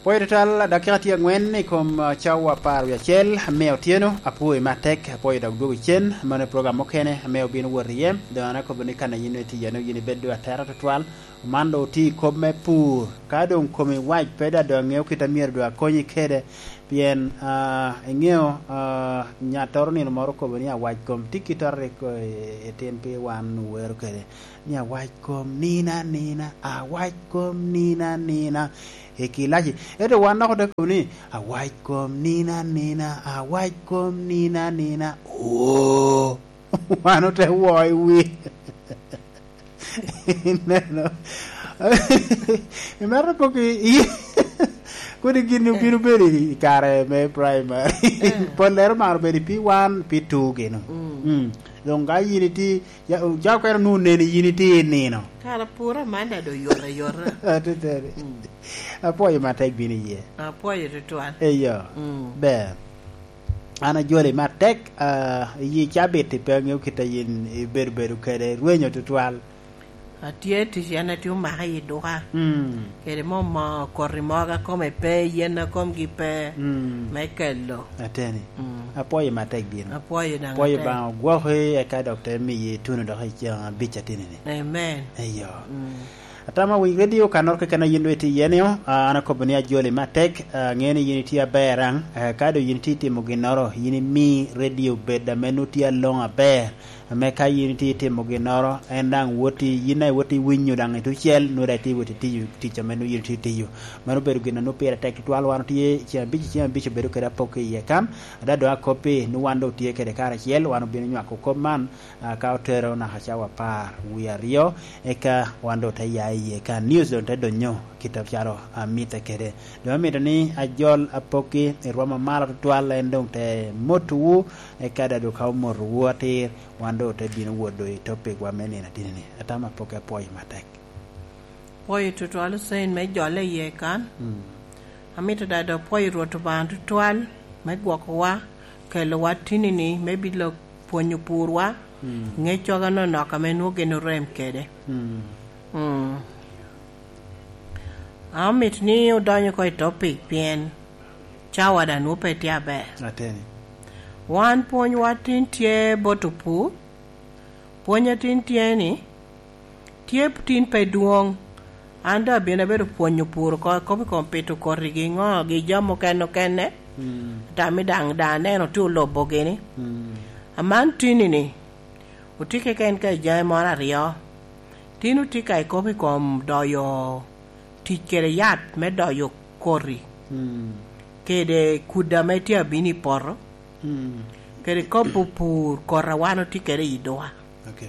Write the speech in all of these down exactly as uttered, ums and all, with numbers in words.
Apwoyo tutwal, dakika tye angwen i kom, ah, cawa apar wie acel me otyeno. Apwoyi me atek, apwoyo dok dwogo cen. Mano program mukene ame obino wot iye. Doŋ an akobo ni kan a yin itye iye-nu, yin ibed doŋ atera tutwal. Man doŋ otye i kop me pur. Ka doŋ komi wac pe daŋ doŋ aŋeo kit a myero doŋ akonyi kede, pien, ah, iŋeo, ah, nyattoro nino moro okobo ni awac kom tye kit a rik, eh, etin pi wan owero kede. Ni awac kom nina nina, awac kom nina nina. E kilaci. Ento wan dok ote kobo ni, awac kom nina nina, awac kom nina nina. Oo. Wan ote wo i wi. Ineno? Imito kok i, i, kodi gin obino bedo i kare me primary. Eh. Pollere maro bedo i P one, P two gino. Mm. Mm. Doŋ ka yin iti Ya, ca okene onwoŋo neni yin itye i nino. Kara pwora man daŋ doŋ yot ayota. Ateteni. Mm. Apwoyo matek bino iye. Apwoyo tutwal. Eyo. Mm. Ber. An ajoli matek, ah, iyi cabit ipe aŋeo kit a yin ibedo bedo kede, rwenyo tutwal. Atye tic, en atye omaka i duka. Mm. Kede mo, mo koti mogo a kome pe, yen a komgi pe, mm, me kelo. Ateni. Mm. Apwoyo matek bino. Apwoyo daŋ. Apwoyo atek. Baŋa ogwoki, eka dok te miyi ituno dok i ceng abic atini-ni. Amen. Eyo. Mm. Atamo wi radio kanoro keken a yin doŋ itye iye-ni, ah, an akobo ni ajoli matek, ah, aŋeo ni yin itye aber daŋ, eh, ka doŋ yin itye itimo ginnoro, yin imi radio bed ame nwoŋo tye aloŋo aber. Ame ka yin itye itimo ginnoro, en daŋ woti, yin daŋ iwoti winyo daŋ i tucel, nwoŋo daŋ itye iwoti tiyo tic ame nwoŋo yin itye itiyo. Mano obedo gin a nwoŋo pire tek tutwal. Wan otye ceng abic, ceng abic obedo kede apok iye kan, ada doŋ akoppi ni wan doŋ otye kede karacel, wan obino nywako kop man, ah, ka otero naka cawa apar wie aryo, eka wan doŋ te ya iye kan. News doŋ te donyo kit acalo amitte kede. Doŋ amito ni ajol apokki i rwom amalo tutwal, en doŋ te motowu, eka daŋ doŋ ka omotowu atir, wan doŋ ote bino wot doŋ i topic wa me nino atini-ni. Atamo apokki, apwoyo matek. Pwoyo tutwal Hussein me jolle iye kan. Mm. Amito daŋ doŋ pwoyo Rwot Obaŋa tutwal me gwokowa, kelowa tinini me bilo pwonyo purwa, mm, ŋec coga nonok ame nwoŋo gin orem kede. Mm. Mm. Amito ni odonyo oko i topic, pien cawa daŋ nwoŋo pe tye aber. Ateni. Wan pwonywa tin tye bot opur, pwony a tin tye ni, tye tin pe dwoŋ. An doŋ abino abedo pwonyo pur oko, kop i kom pito koti gi ŋo, gi jami okene okene. Mm. Tami daŋ, daŋ aneno tye olobo gini. Mm. Aman tini ni, otye keken ka i jami moro aryo. Tin otye ka i kop i kom doyo tic kede yat me doyo koti. Mm. Kede kudi ame tye abino i poto. Mm. Kede kobo pur, koti a wan otye kede i duka. Okay.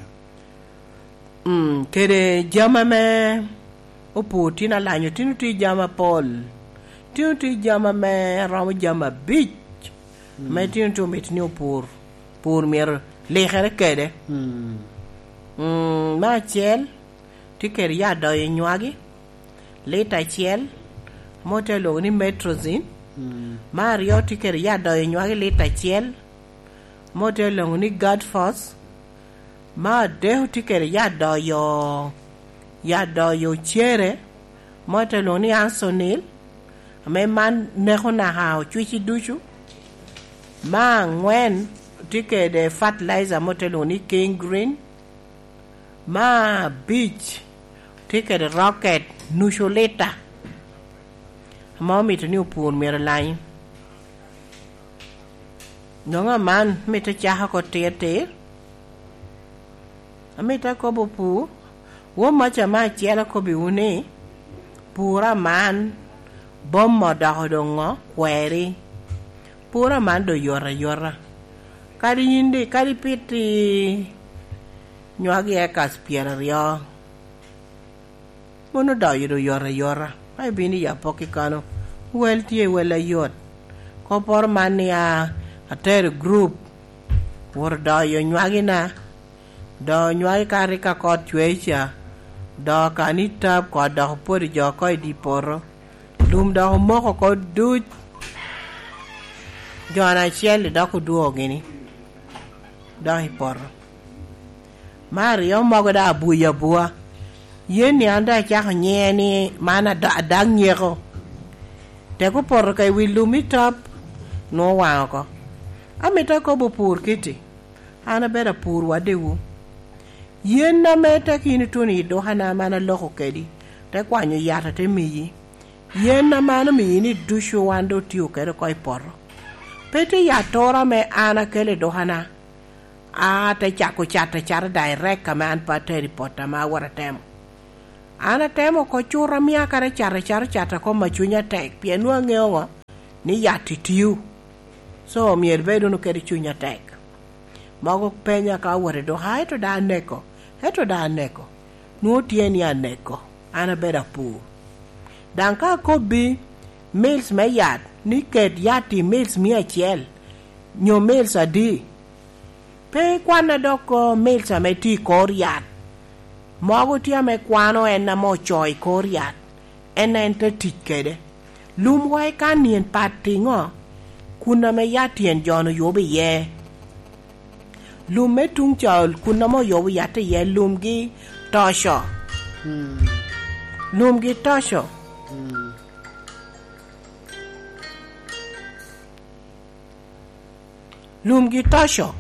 Mm, kede jami ame opur tin alanyo, tin otye jami apol. Tin otye jami ame romo jami abic. Mm. Ame tin otye omito ni opur, pur myero likere kede. Mm. Mm, me acel, tye kede yat doyo nywagi, lita acel, ame ote lwoŋo ni Metrozin. Mm. Me aryo, tye kede yat doyo nywagi, lita acel, ame ote lwoŋo ni Guard Force. Me adek, tye kede yat doyo, yat doyo cere, ame ote lwoŋo ni Ansonil, ame man neko naka ocwici ducu. Me aŋwen, tye kede fertilizer ame ote lwoŋo ni King Green. Me abic, tye kede rocket nucu lita, ame omito ni opur myero olany. Doŋ aman, mito cako oko tir tir. Amito akobo pur, won maca me acel akobbiwu ni, pur aman, boma odoko doŋ ŋo? Kweri. Pur aman doŋ yot ayota. Kadi yin di, kadi piti nywagi ekas pyeraryo, mono doyo doŋ yot ayota. Ka ibino i apokki kano, wel tye, wel ayot. Kopporo man ni a, atero i gurup, wot odoyo nywagina. Doyo nywagi ka rik ka kot cwer ca, doyo ka ni tap, kot dok opwodo jo oko i dye poto. Lum dok omoko oko duc. Jona acel-li dok odwogo gini, dok i poto. Me aryo mogo daŋ abuyo abua. Yen ni an daŋ acako nyiŋe ni man ada-, adak nyeko. Tek opoto ka i wi lum i tap, nwoŋo owaŋ oko. Amito akobo pur kiti, an abedo apur wadewu. Yen ame tek yin ituno i dukana ame an aloko kedi, te kwanyo yat ate miyi. Yen ame an omiyi ni ducu wan doŋ otio kede oko i poto. Pe tye yat toro ame an akelo i dukana, a te cako cato acato direct ame an pe atero i poto ame awot atemo. An atemo oko cut amia kara cato acato cato kom a cunya tek, pien nwoŋo aŋeo ŋo ni yat itio. So, myero ibed wunu kede cuny atek. Mogo penya ka owot i duka, "Ento da aneko, ento da aneko." Nwoŋo tye ni aneko, an abedo apur. Daŋ ka akobbi mils me yat, ni ket yat i mils mia acel, nyo mils adi, pe ikwanne dok, o, mils ame tye i kor yat. Mogo tye ame kwano en ame ocoo i kor yat, en en te tic kede. Lum wa i kan nyen pat iŋo? Kun ame yat tyen jo-nu yubo iye. Lum me tuŋ ca, kun ame oyubo yat iye, lumgi toco. Mm. Lumgi toco. Mm. Lumgi toco.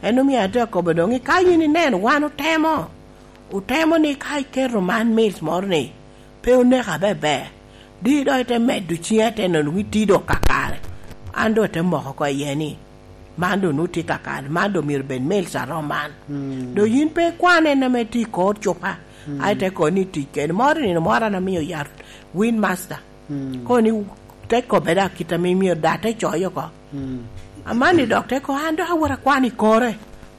En omio atye akobo doŋ ni ka yin ineno wan otemo, otemo ni ka iketo man mils moro ni, pe oneka bebe, di doŋ ite medo ciŋe ate neno ni tye doŋ kakare. An doŋ ate moko oko iye ni, man doŋ nwoŋo tye kakare, man doŋ myero bed mils arom man. Mm. Doŋ yin pe ikwan en ame tye i kor cupa, mm, a ite kobo ni tic kede. Moro nino moro an amio yat Win Master. Mm. Kono ni te kobbe da kit ame myero da te coyo oko. Mm. Aman ni dok te ko, an dok awot akwan i kore.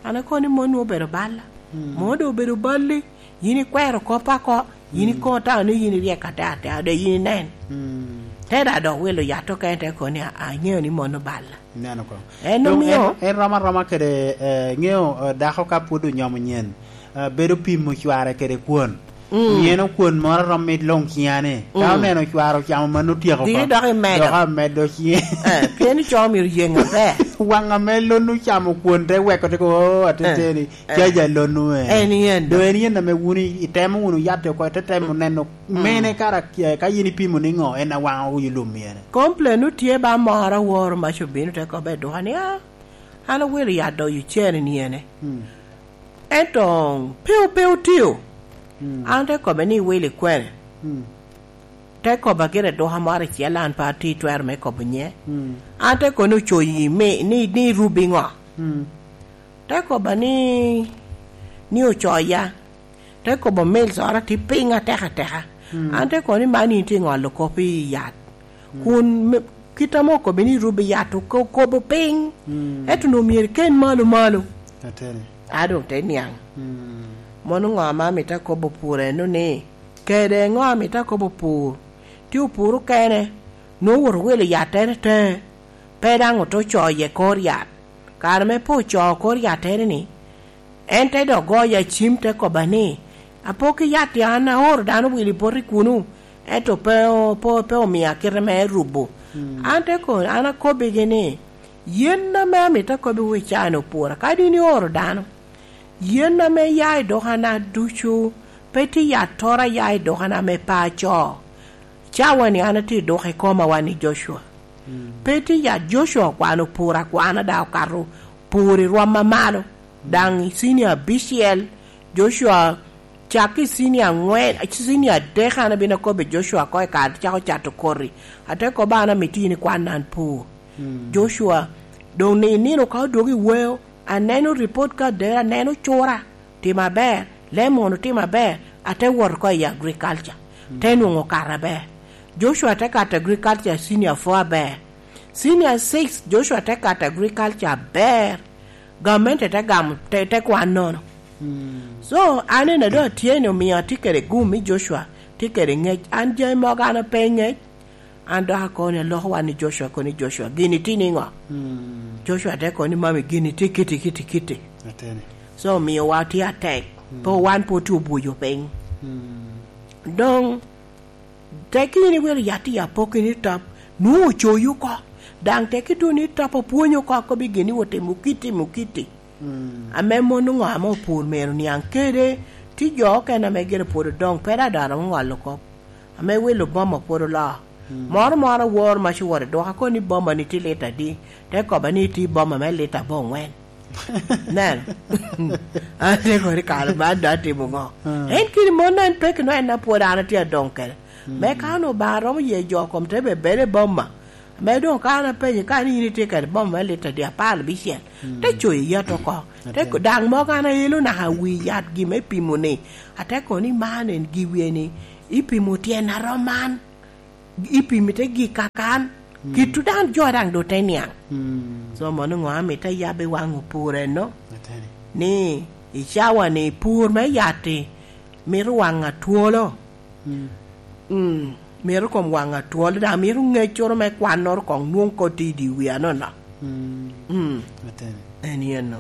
An akobo ni mon nwoŋo obedo balla. Mm. Mon doŋ obedo balli. Yin ikwero koppa oko. Yin, mm, ikoŋo tao ni yin iryek atek atek, ade yin inen. Mm. Te da dok wilo yat okene te kobo ni, "A, aŋeo ni mon oballa." Ineno ko. En doŋ omio en, en rom aroma kede, eh, ŋeo, eh, dako ka pwod onyomo nyen, eh, bedo pimo cware kede kwon. Mm. Omio en okwon moro rom mit luŋ ciŋane. Ka, mm, oneno cware ocamo mano otyeko oko. Diki dok imedo. Dok amedo ciŋe. Eh, pien ico myero yeng aber. Waŋ ame lon ocamo kwon te weko te ko, "Oh, ateteni, eh, caja lon-nu en." En yen. Doŋ en yen ame wun i-, itemo wunu yat oko, ite temo neno, mm, mene kara, eh, ka yin ipimo ni ŋo, en awaŋo wi lum myene. Complain-nu tye ba moro aworo mac obino te kobbe i duka ni, "Ah, an awilo yat doyo cene ni ene." Mm. Ento pe, pe otio. Mm. An te kobbe ni, "Iwilo i kwene?" Mm. Te kobba gire duka moro acel, an pe atye twero me kobo nye. Mm. An te kono ocoyi me, ni, ni irubi ŋo? Mm. Te kobba ni, ni ocoya. Te kobo mils oro tye piny atek ateka. Mm. An te kono ni, "Man in tye ŋolo kop i yat." Mm. Kun me, kit ame okobbe ni irubi yat oko-, okobo piny. Mm. Ento onwoŋo myero iken malo malo. Ateni. A doŋ te niaŋ. Mm. Mono ŋo ame amito akobo pur eno ni, kede ŋo amito akobo pur? Tye opur okene, nwoŋo owoto owilo yattere te, pe daŋ ote ocoyo i kor yat. Kare me pe ocoo kor yattere ni, en te dok goyo acim te kobba ni, "Apok i yat-ti an aoro dano wilo i boti kunu, ento pe o-, pe, pe omia kite me rubo." Mm. An te ko-, an akobbigi ni, "Yen ame amito akobbiwu i caa-ni opwora, kadi in ioro dano, yen ame ya i dukana ducu, pe tye yattoro a ya i dukana ame pe acoo." Cawa-ni an atye i duka i koma wan i Joshua. Mm. Pe tye yat Joshua okwano pur akwana daŋ okato pur i rwom amalo. Mm. Daŋ i cinia abicel, Joshua cak i cinia aŋwen, cinia adek an abino akobo i Joshua ko i kare cako cato koti. Ate kobo an amito yin ikwan an pur. Mm. Joshua, doŋ ni nino ka odwogo i weo, aneno ripot ka dera, aneno cura. Tim aber, lemo wunu tim aber, ate wot oko i agriculture, te nwoŋo okato aber. Joshua te kato agriculture senior four aber. Senior six, Joshua te kato agriculture aber. Gamente te gamo, te, te kwan nono. Mm. So, an ena doŋ atye ni omio atye kede gum i Joshua, tye kede ŋec. An jami mogo an ape ŋec, An dok akobo ni aloko wan ni Joshua, akobo ni, "Joshua, gini tye niŋo?" Mm. Joshua te kobo ni, "Mami, gini tye kiti, kiti, kiti." Ateni. So, omiowa tye atek. Mm. Pe wan pe otye obwoco piny. Mm. Doŋ, tek in iwilo yat i apokki ni tap, nwoŋo ocoyi oko. Daŋ tek ituno ni tap opwonyo oko, akobo gini otimo kiti, timo kiti. Mm. Ame mon oŋo ame opur myero oniaŋ kede, tye jo okene ame gire pwod odoŋ, pe daŋ dano ŋolo kop. Ame wilo boma pwod oloo. Moro moro awor ma ci wot i duka, kono ni boma ni tye lita adi? Te kobba ni tye boma me lita aboŋwen. Neno. An te kono ni kare man dok atimo ŋo? En kiri mon en peki no en apwod an atye adoŋ kede. Me ka onwoŋo Obaŋa romo ye jo kom te bed bene boma. Me doŋ ka an apenyo ka ni in itye kede boma me lita adi? Apar abicel. Te coyo yat oko. Te daŋ mogo an aelo naka wi yat gi me pimo ni. Ate kono ni man en giwie ni ipimo tyen arom man. Ipimo ite gik kakan. Kit daŋ jo daŋ do te niaŋ. So mono ŋo amito ayab i waŋ opur eno? Ni i cawa ni pur me yatti mito waŋ atwolo. Mm, mito kom waŋ atwolo, daŋ mito ŋeccoro me kwannoro koŋ nwoŋ koti i dye wi anono. Mm. En yen no.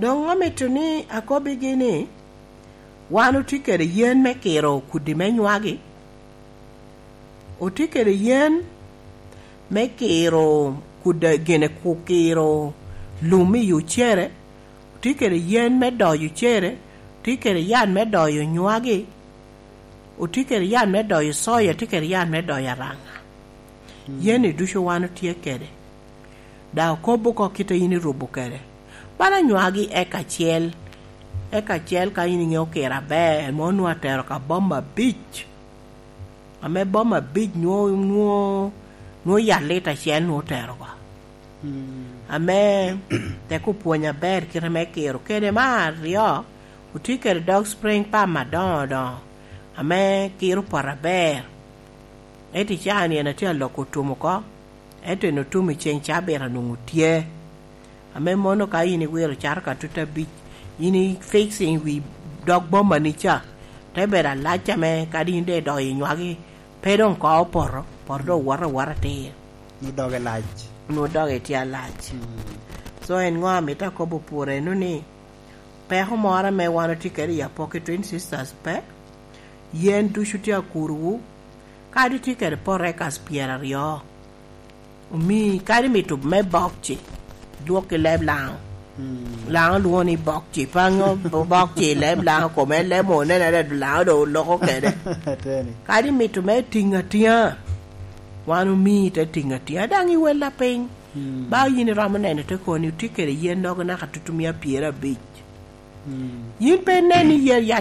Doŋ amito ni akobbigi ni, wan otye kede yen me kiro kudi me nywagi, otye kede yen me kiro kuda gine ku kiro lum i ocere, otye kede yen me doyo ocere, otye kede yat me doyo nywagi, otye kede yat me doyo soya, otye kede yat me doyo araŋa. Yen-ni ducu wan otye kede. Daŋ okobo oko kit a in irubo kede. Bala nywagi eka acel, eka acel ka in iŋeo kiro aber, ma onwoŋo atero ka boma abic. Ame boma abic nwo-, nwo-, nwo yat lita acel nwo otero oko. Ame tek opwony aber kite me kiro kede. Me aryo, otye kede dog spring pump adoŋo doŋo, ame kiro poto aber. Ento i caa-ni en atye aloko otum oko, ento en otum i ceŋ cabit anwoŋo tye. Ame mono ka in iwiro cato ka tut abic, in i fixing wi dog boma ni ca, te bedo alac ame kadi in de idok i nywagi, pe doŋ ko opoto, poto doŋ owoto awota atir. Nwo doge lac. Nwo doge tye alac. So en ŋo amito akobo pwod eno ni, peko moro ame wan otye kede i Apoki Twin Sisters pe, yen ducu tye akurowu, kadi tye kede poto ekas pyeraryo. Omi, kadi mito me bokci, dwok i leb Laŋo. Laŋo lwoŋo ni bokci, paŋo bokci i leb Laŋo, kome en leb mo onene red Laŋo doŋ oloko kede. Kadi mito me tiŋ atiŋa, wan omi te tiŋ atiŋa, daŋ iwella piny. Ba yin iromo neno te koni, otye kede yen nogo naka tutumia pyerabic. Yin pe inen ni yen yat